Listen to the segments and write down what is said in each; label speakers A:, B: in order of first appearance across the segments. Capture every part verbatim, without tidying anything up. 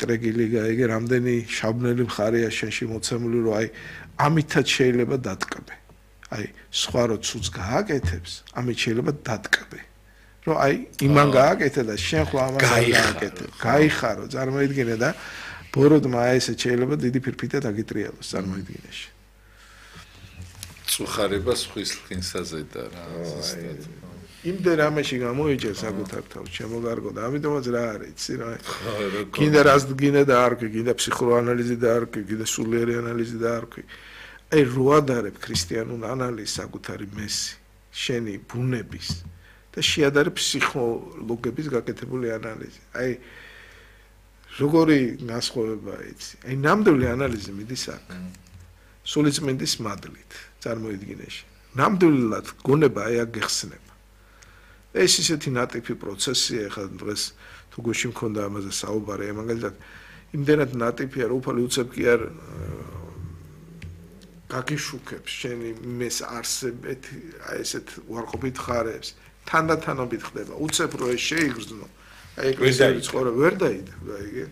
A: ტრეგილი გაიგე რამდენი შაბნელი მხარეა შენში მოცემული რომ აი ამითაც შეიძლება დატკბე აი სხვა რო ცუც გააკეთებს ამით შეიძლება დატკბე რომ აი იმან გააკეთე და შენ ხო ამას გააკეთე გაიხარო წარმოიდგინე და ბოროდმა აი ესე შეიძლება დიდი ფირფიტა დაგიტრიალოს წარმოიდგინეში
B: წუხარება სხვის ლხინსაზე და რა ზუსტად
A: იმდენ რამეში გამოიჭერ საკუთარ თავს შემოგარგო და ამიტომაც რა არის იცი რა კიდე რას გინდა და არ კი კიდე ფსიქოანალიზი და არ კი კიდე სულიერი ანალიზი და არ კი აი როადარებ ქრისტიანულ ანალიზს საკუთარი მესი შენი ბუნების და შეადარებ ფსიქოლოგების გაკეთებული ანალიზი აი როგორი განსხვავებაა იცი აი ნამდვილი ანალიზი მიდის აქ სულიწმინდის მადლით წარმოიდგინეში ნამდვილად გონება აი აქ გეხსნება ეს ისეთი ნატიფი პროცესია ხა დღეს თუ გუში მქონდა ამაზე საუბარი მაგალითად იმდენად ნატიფია რომ უფალი უცებ კი არ გაგიშუქებს შენი მეს არსებეთ აი ესეთ უარყოფით ხარებს თანდათანობით ხდება უცებ რო ეს შეიგრძნო აი ეკლესიის ცხოვრება ვერ დაიდება აიგე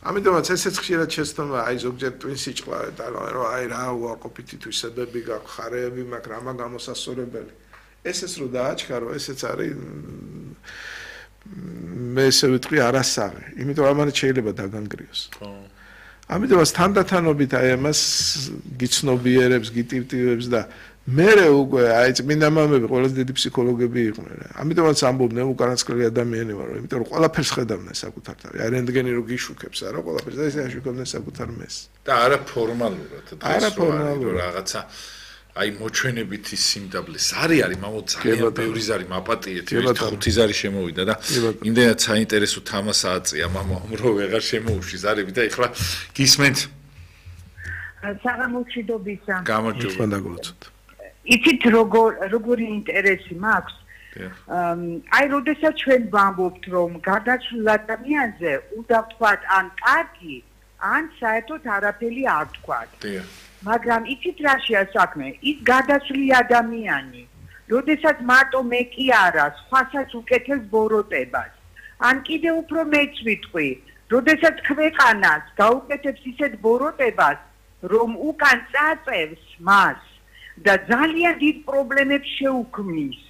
A: ამიტომაც ესეც ხშირად შეცდომა აი ზოგჯერ ტვინ სიჭყლავე და რომ აი რა უარყოფითი თვისებები გაქვს ხარეები მაქვს რამა გამოსასწორებელი ესეც რო დააჩქარო ესეც არის მე ესე ვიტყვი არასაღი იმიტომ ამან შეიძლება დაგანგრიოს ხო ამიტომაც თანდათანობით აი ამას გიცნობიერებს გიტივტივებს და მერე უკვე აი წმინდა მამები ყველაზე დიდი ფსიქოლოგები იყვნენ რა ამიტომაც ამბობდნენ უკანასკნელი ადამიანი ვარ იმიტომ რომ ყველაფერს ხედავდნენ საკუთარ თავი აი რენტგენი რო გიშუქებს არა ყველაფერს და ესე აშუქებდნენ საკუთარ მეს
B: და არა ფორმალურად
A: არა ფორმალურად
B: რაღაცა აი მოჩვენებითი სიმდაბლეს არის არის მამოთ ძალიან ბევრი ზარი მაპატიეთ ერთ ხუთი ზარი შემოვიდა და იმდენად საინტერესო თამასა აწია მამამ რომ ვეღარ შემოუშვი ზარები და ეხლა გისმენთ
C: საღამოჩიდობისა
B: გამარჯობა
A: დაგულოცოთ
C: იცით როგორ როგორი ინტერესი მაქვს აი როდესაც ჩვენ ვამბობთ რომ გარდაცვლილ ადამიანზე უნდა ვთქვათ ან კარგი ან საერთოდ არაფერი არ ვთქვათ მაგრამ იცით რაშია საქმე ის გარდაცვლილი ადამიანი როდესაც მარტო მე კი არა სხვასაც უკეთებს ბოროტებას ან კიდე უფრო მეც ვიტყვი როდესაც ქვეყანას გაუკეთებს ისეთ ბოროტებას რომ უკან წაწევს მას და ძალიან დიდ პრობლემებს შეუქმნის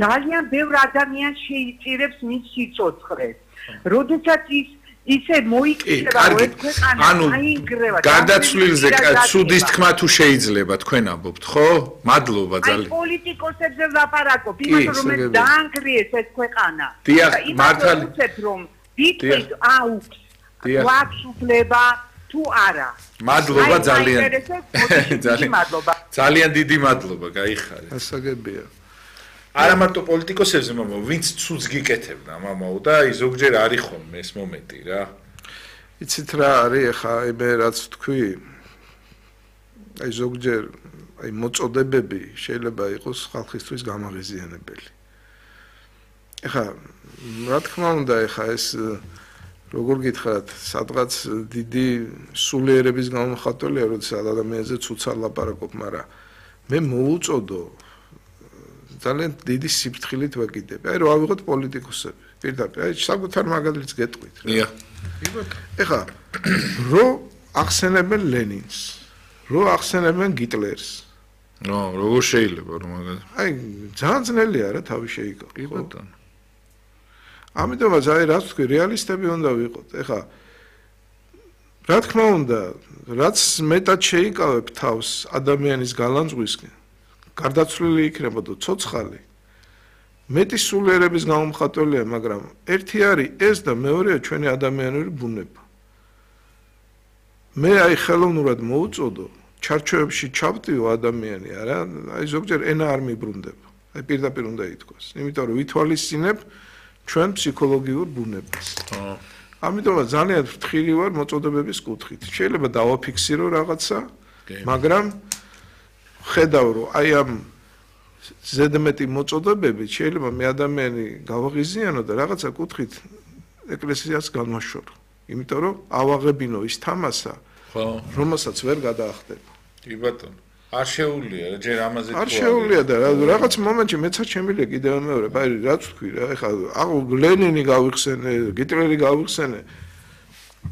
C: ძალიან ბევრ ადამიანს შეიწირებს მის სიცოცხლეს როდესაც ის ისე მოიქცევა რომ ეს ქვეყანა აინგრევა
B: გარდაცვლილზე ცუდის თქმა თუ შეიძლება თქვენ ამბობთ ხო მადლობა ძალიან
C: აი პოლიტიკოსებზე ვლაპარაკობ იმას რომ დაანგრიეს ეს ქვეყანა
B: დიახ მართალი
C: რომ ვიტყვით აუქს გვაქვს უფლება თუ არა
B: მადლობა ძალიან
C: ძალიან მადლობა
B: ძალიან დიდი მადლობა გაიხარეთ
A: ასაგებია
B: არა მარტო პოლიტიკოსებზე მამა ვინც ცუძ გიკეთებდა მამაო და აი ზოგჯერ არის ხოლმე ეს მომენტი რა
A: იცით რა არის ახლა აი მე რაც თქვი აი ზოგჯერ აი მოწოდებები შეიძლება იყოს ხალხისთვის გამაღიზიანებელი ახლა რა თქმა უნდა ახლა ეს როგორ გითხრათ სადღაც დიდი სულიერების გამომხატველია როდესაც ადამიანზე ცუცად ლაპარაკობ მაგრამ მე მოუწოდო ძალიან დიდი სიფრთხილით ვეკიდები. აი რა ავიღოთ პოლიტიკოსები. პირდაპირ აი საკუთარ მაგალითს გეტყვით რა.
B: დიახ.
A: ეხლა რო ახსენებენ ლენინს, რო ახსენებენ გიტლერს.
B: ნო, როგორ შეიძლება რომ მაგალითად.
A: აი ძალიან ძნელია რა თავი შეიკავო.
B: კი ბატონო.
A: ამიტომაც აი რაც თქვი რეალისტები უნდა ვიყოთ. ეხლა რა თქმა უნდა, რაც მეტად შეიკავებ თავს ადამიანის გალანძღვისკენ გარდაცვლილი იქნებოდა ცოცხალი მეტი სულიერების გამომხატველია მაგრამ ერთი არის ეს და მეორეა ჩვენი ადამიანური ბუნება მე აი ხელოვნურად მოუწოდო ჩარჩოებში ჩავტიო ადამიანი არა აი ზოგჯერ ენა არ მიბრუნდება აი პირდაპირ უნდა ითქვას იმიტომ რომ ვითვალისწინებ ჩვენ ფსიქოლოგიურ ბუნებას ამიტომაც ძალიან ფრთხილი ვარ მოწოდებების კუთხით შეიძლება დავაფიქსირო რაღაცა მაგრამ ხედავ რომ აი ამ ზედმეტი მოწოდებები შეიძლება მე ადამიანი გავაღიზიანო და რაღაცა კუთხით ეკლესიას განვაშორო იმიტომ რომ ავაღებინო ის თამასა ხო რომელსაც ვერ გადაახდება
B: კი ბატონო არ შეუულია რა ჯერ ამაზე
A: არ შეუულია და რაღაც მომენტში მეცაც შემიძლია კიდევ მეორე აი რაც თქვი რა ეხლა აღ ლენინი გავიხსენე გიტლერი გავიხსენე